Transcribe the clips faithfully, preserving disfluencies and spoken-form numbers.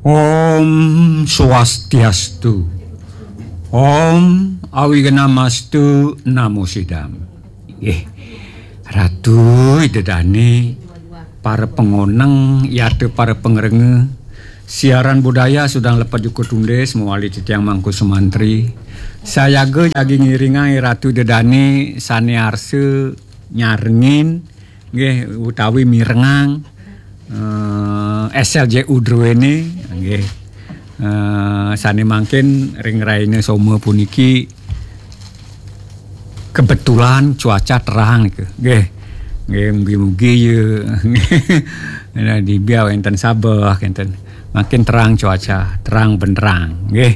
Om Swastiastu. Om Awignamastu Namo Sidam. Nggih. Ratu Ida Dane, para pangoneng, yata para pangrengga. Siaran budaya sedeng lepet juga tundis, mawali titiang Mangku Sumantri. Sayaga jagi ngiringang Ratu Ida Dane sane arsa nyarengin, nggih, utawi mirengang, eh, S L J U druene, nggih. Eh, sane mangkin ring rahina Soma puniki kebetulan cuaca terang nika. Nggih. Nggih, mugi-mugi ya. Nah, di biar wenten sabeh, wenten. Makin terang cuaca, terang benderang. Nggih.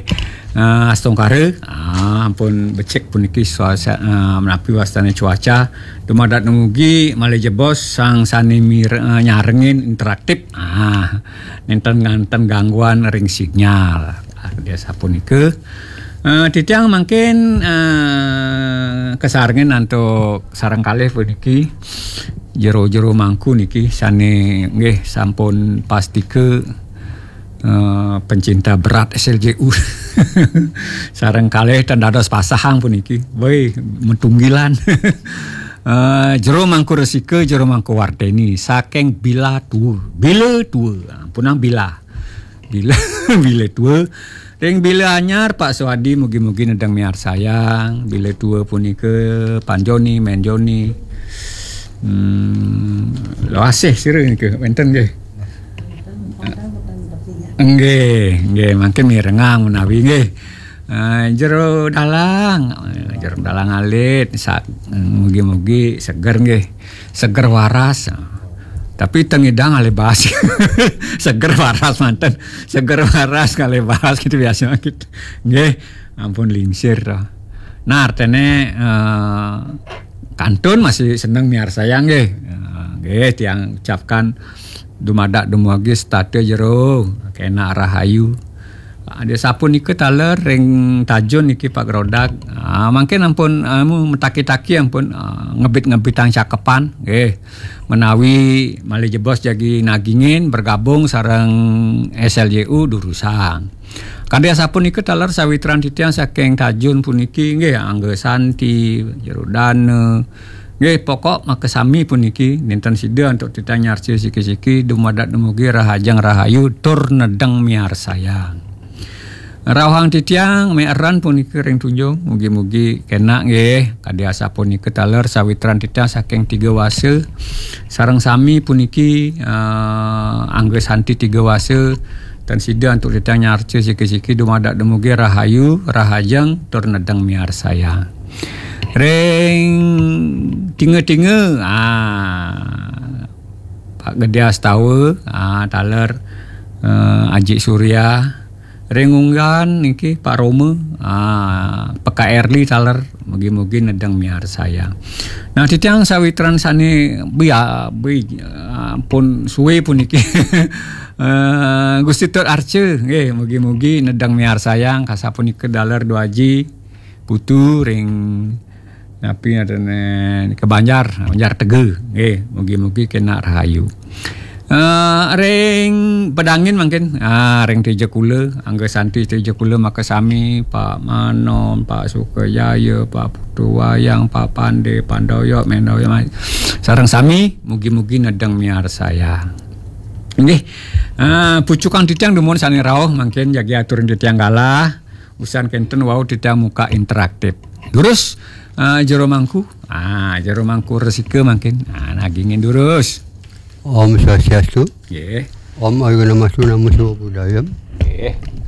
Eh, astungkara, ah, ampun becik puniki suasa, eh, menapi wastane cuaca. Dumadak dumugi malih jebos sang sane mir-, eh, nyarengin interaktif. Ah, nenten nganten gangguan ring sinyal. Ah, dia sapunika. Eh, titiang mangkin, eh, kasarengin antuk sareng kalih puniki. Jero-jero Mangku niki sane nggih sampun pastika, eh, pencinta berat S L J U. Sareng kalih ten dados pasahang puniki. Woi, metunggilan. Eh, Jero Mangku Resika, Jero Mangku Warteni, saking Bila Tua. Bila Tua. Ampunang Bila. Bila, Bila Tua. Ring Bila Anyar, Pak Suwadi, mugi-mugi nedeng miarsayang. Bila Tua punika, Panjoni, Menjoni. Hmm, Loasih sira nika, wenten nggih. Nggih, nggih, mangkin mirengang menawi nggih. Eh, Jero Dalang, eh, Jero Dalang alit, sa-, mugi-mugi seger nggih. Seger waras. Tapi tengidang alih baas. Seger waras manten. Seger waras kalih baas gitu biasa gitu. Nggih, ampun lingsir to. Nah, artene, eh, kantun masih seneng miarsayang nggih. Eh, nggih, tiang ucapkan dumadak dumugi setata jero, kenak rahayu. Ah, dia sapunika taler ring Tajun niki Pak Grodak. Ah, mangkin ampun, anu, metaki-taki ampun, ah, ngebit-ngebitang cakepan, nggih. Menawi malih jebos jagi nagingin bergabung sareng S L J U durusang. Kadi asapunika taler sawitran titiang saking Tajun puniki, nggih, Angga Santi, Jero Dana, nggih, pokok makasami puniki, nenten sida antuk titiang nyarca siki-siki, dumadak dumugi rahajeng rahayu tur nedeng miarsayang. Rauhang titiang meeran puniki ring tunjung, mugi-mugi kenak nggih, kadi asapunika taler sawitran titiang saking Tiga Wasa, sareng sami puniki, eh, Angga Santi Tiga Wasa, tan sida antuk titiang nyarca siki-siki dumadak dumugi rahayu, rahajeng, tur nedeng miarsayang. Ring tinga-tinga, ah, Pak Gede Astawa, ah, taler, eh, Aji Surya. Ring Unggan niki Pak Roma, ah, P K Erli taler, mugi-mugi nedeng miarsayang. Nah, titiang sawitran sane bia-, bi-, ampun suwe puniki. Eh, Gusti Tut Arca, nggih, mugi-mugi nedeng miarsayang, kasapunika taler Dwaji, Putu ring napi ngadene ke Banjar, Banjar Tega. Nggih, mugi-mugi kenak rahayu. Eh, ring Pedangin mangkin, ah, ring Tejakula, Angga Santi Tejakula makasami, Pak Manon, Pak Sukajaya, Pak Putu Wayang, Pak Pande, Pandoyo, Mendoyo, sareng sami, mugi-mugi nedeng miarsayang. Nggih. Ah, pucukan titiang dumun sane rauh mangkin jagi aturin titiang galah. Usan kenten wau titiang muka interaktif. Durus, ah, Jero Mangku. Ah, Jero Mangku Resika mangkin. Ah, nagingin durus. Om Swastiastu. Nggih. Om Awignamastu Namo Siwa Budaya. Nggih.